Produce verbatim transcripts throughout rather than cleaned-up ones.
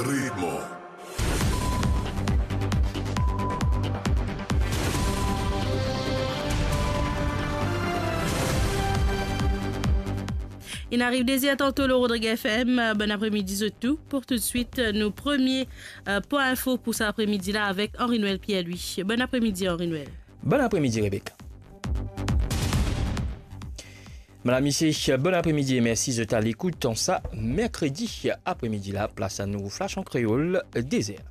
Ritmo. Inn ariv de zer tanto lor Rodrig F M. Bon apremidi zot tou. Pou toutswit, nou premie, euh, pwin info pou sa apremidi la avek Henri Noël Pierre-Louis. Bon apremidi, Henri Noël. Bon apremidi, Rebecca. Madam, misie, bon apremidi e mersi zot a lekout an sa merkredi apremidi la. Plas a nou Flash an Kreol, de zer.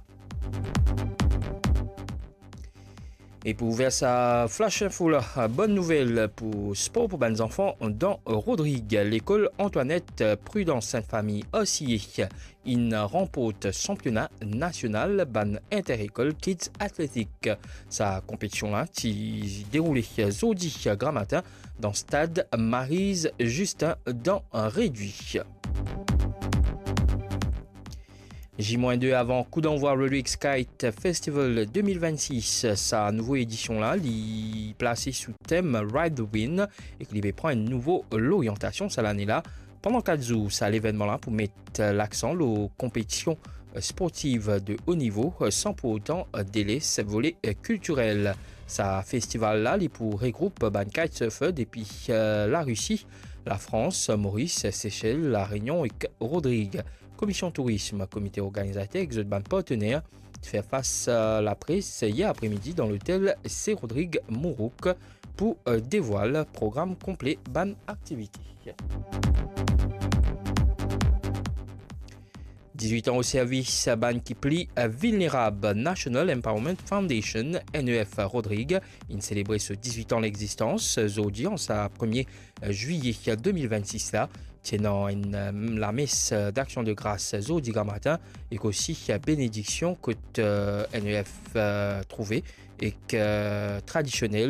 E pou ouver sa Flash Info la, bonn nouvel pou spor pou bann zanfan dan Rodrig. Lekol Antoinette Prudence Sainte Famille R C A inn ranport sanpiona nasional bann inter-ekol Kids Athletic. Sa konpetision la ti deroule zordi gramatin dan stad Maryse Justin dan Redui. Zi mwin de avan kou danvwa Rodrigues Kite Festival de mil vennsis, sa nouvo edision la, li plase sou tem Ride the Wind ek li pe pran enn nouvo loryantasion sa lane la. Pandan kat zour, sa levennman la pou met laksan lor konpetision sportiv de o nivo, san pou otan deles vole kiltirel. Sa festival la, li pou regroup bann kitesurfer depi Larisi, Lafrans, Moris, Sesel, Larenyonn ek Rodrig. Komision Tourism, komite organizater ek zot bann partner ti fer fas lapres yer apremidi dan lotel Se Rodrig Mourouk pou devwal program konple bann aktivite. Dizwit an o servis bann ki pli vilnerab. National Empowerment Foundation, N E F Rodrig, inn selebre so dizwit an legzistans zordi an sa premie zwiye de mil vennsis la. Ti ena enn, euh, lames, euh, d'Action de Grâce, euh, zordi gramatin, ek osi, euh, benediksion kot, euh, N E F, euh, trouve, ek, euh, tradisionel